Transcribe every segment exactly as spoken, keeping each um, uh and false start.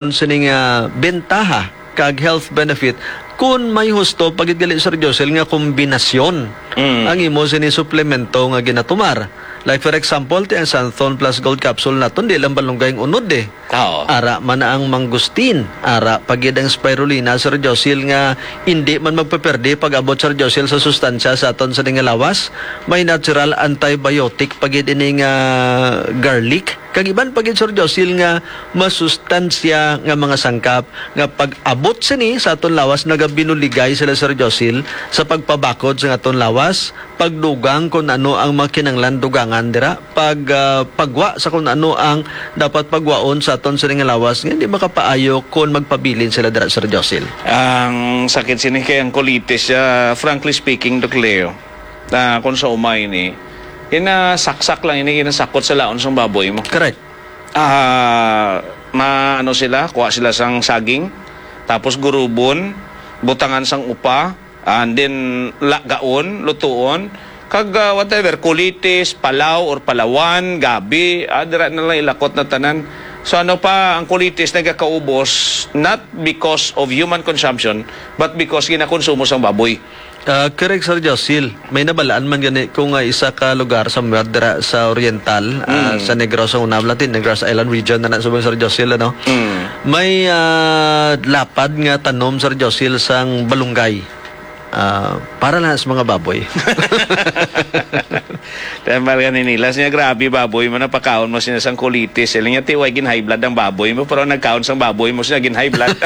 sini nga bentaha kag health benefit kun may husto pa gid gali, Sir Josel, nga kombinasyon Mm. ang imo sini suplemento nga ginatumar. Like, for example, ti ang Santhon Plus Gold Capsule naton, di lang balunggay ang unod, eh. Oo. Ara man na ang mangustin, ara pa gid ang spirulina, Sir Josil, nga indi man magpaperde pag-abot, Sir Josil, sa sustansya sa aton sini nga lawas. May natural antibiotic pa gid ini nga garlic. Kag iban pa gid, Sir Josil, nga masustansya nga mga sangkap nga pag-abot sini sa aton lawas, nagabinuligay sila, Sir Josil, sa pagpabakod sa aton lawas, pagdugang kung ano ang mga kinahanglan dugangan dira, pag, ah, pagwa sa kung ano ang dapat pagwaon sa aton sini nga lawas, nga hindi makapaayo kung magpabilin sila dira, Sir Josil. Ang sakit sini kay ang colitis, ah, frankly speaking, Doc Leo, ah, kung sa umay ni, ginasaksak lang ini, ginasakot sa laon sang baboy mo. Correct. Ah, ma-, ano sila, kuha sila sang saging, tapos gurubon, butangan sang upa, and then lagaon, lutuon, kag, ah, whatever, kulitis, palaw or palawan, gabi, ah, dira na lang ilakot na tanan. So, ano pa, ang kulitis nagakaubos, not because of human consumption, but because ginakonsumo sang baboy. Ah, correct, Sir Josil. May nabalaan man gani ko nga isa ka lugar somewhere dira sa Oriental, ah, Mm. sa Negros, sa una, Latin, Negros Island region na na subong, Sir Josil, ano? Mm. May, ah, lapad nga tanom, Sir Josil, sang balunggay. Ah, para lang sa mga baboy. Tambal ka ni Nilas niya, grabe baboy mo, napakaon mo sila sang kulitis. Sila niya, ti, way gin-high blood ang baboy mo, pero nagkaon sang baboy mo sila gin-high blood.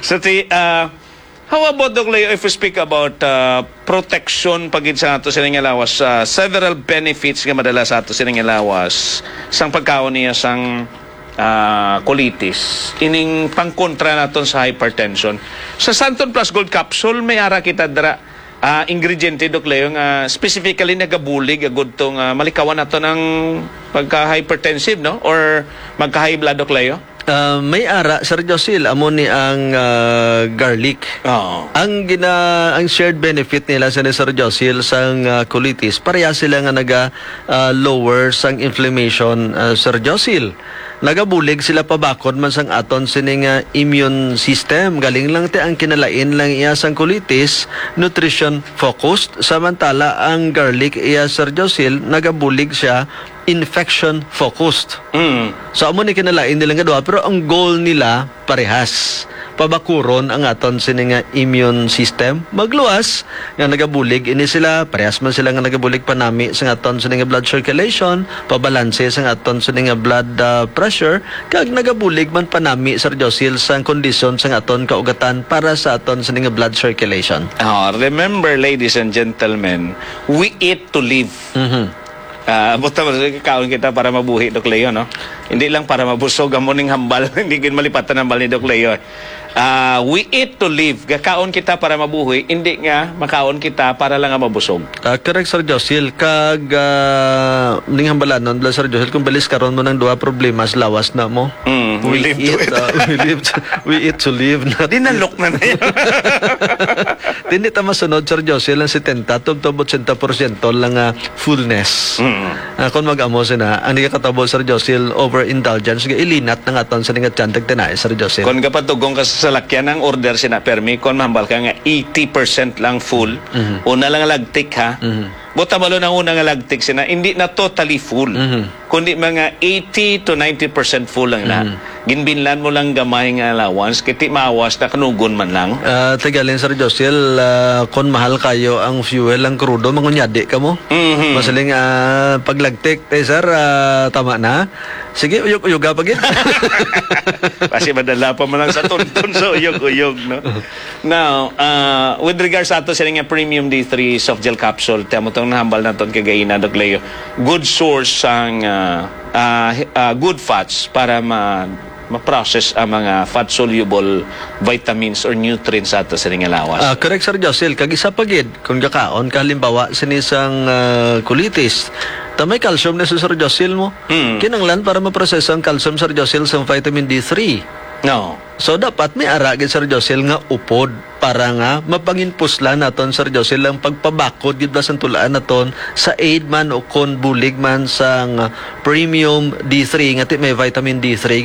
So, ti, ah, how about, Doc Leo, if we speak about, ah, protection pa gid sa ato sini nga lawas, ah, several benefits nga madala sa ato sini nga lawas sang pagkaon niya sang, ah, colitis, ining pangkontra naton sa hypertension. Sa Santon Plus Gold Capsule, may ara kita dira, ah, ingrediente, Doc Leo, nga specifically nagabulig agud to nga malikawan nato ng pagka-hypertensive, no? Or magka-high blood, Doc Leo? Ah, may ara, Sir Josil, amo ni ang, ah, garlic. Oo. Ang gina-, ang shared benefit nila sa ni Sir Josil sang, ah, colitis, pareha sila nga naga, ah, lower sang inflammation, ah, Sir Josil. Nagabulig sila pabakod man sang aton sini nga immune system. Galing lang ti ang kinalain lang iya sang colitis, nutrition focused, samantala ang garlic iya, Sir Josil, nagabulig siya infection focused. Mm. So, amo ni kinalain nila nga duha, pero ang goal nila parehas. Pabakuron ang aton sini nga immune system. Magluwas nga nagabulig ini sila, parehas man sila nga nagabulig panami sa aton sini nga blood circulation, pabalanse sa aton sini nga blood, ah, pressure, kag nagabulig man panami, Sir Josil, sa kondisyon sa aton kaugatan para sa aton sini nga blood circulation. Oh, remember, ladies and gentlemen, we eat to live. Mhm. Ah, buta mo, kaon kita para mabuhi, Doc Leo, no? Hindi lang para mabusog, amo ning hambal. Hindi gid malipatan ang hambal ni Doc Leo. Ah, we eat to live. Gakaon kita para mabuhi, hindi nga makaon kita para lang nga mabusog. Ah, correct, Sir Josil. Kag, ah, ning hambalanon, bala, Sir Josil, kung balis karon mo ng duha problema sa lawas na mo. Mm, we We live to eat, eat. Ah, we live to, we eat to live, not Dinalok na na yan. Di, hindi ta masunod, Sir Josil, ang setenta, tubtob ochenta porsyento lang, ah, fullness. Mm. Ah, kung mag-amo sina, ang nagakatabo, Sir Josil, overindulgence, nga ilinat na nga aton sa nga tiyan, tagtinay, Sir Josil. Kung kapatugong ka sa salakyan, ang order sina permi, kung mahambal ka nga eighty percent lang full, Mhm. una lang lagtik, ha? Mhm. Buta malo nang una nga lagtik sina, hindi na totally full. Mhm. Kundi mga eighty to ninety percent full lang na. Mhm. Ginbinlan mo lang gamay nga allowance, kiti maawas na kanugon man lang. Ah, tigalin, Sir Josil, ah, kon mahal kayo ang fuel, ang krudo, mangunyadi ka mo. Mhm. Masiling, ah, paglagtik, eh, sir, ah, tama na. Sige, uyog-uyoga pa gid. Kasi madala pa man lang sa tuntun sa uyog-uyog, no? Now, ah, with regards sa ato sila nga premium D three soft gel capsule, tamo tong nahambal naton kagaina, Doc Leo, good source sang, ah, ah, ah, good fats para ma-, ma-process ang mga fat-soluble vitamins or nutrients sa ato sila nga lawas. Ah, correct, Sir Josil. Kag isa pa gid, kung gakaon ka, halimbawa, sini sang, ah, colitis, ta may calcium na sa, Sir Josil, mo. Mm. Kinanglan para maproseso ang calcium, Sir Josil, sa vitamin D three. No. So dapat may ara gid, Sir Josel, nga upod para nga mapanginpuslan naton, Sir Josel, ang pagpabakod gid ba sang tulaan naton sa aid man o kon bulig man sang, ah, premium D three nga ti may vitamin D three.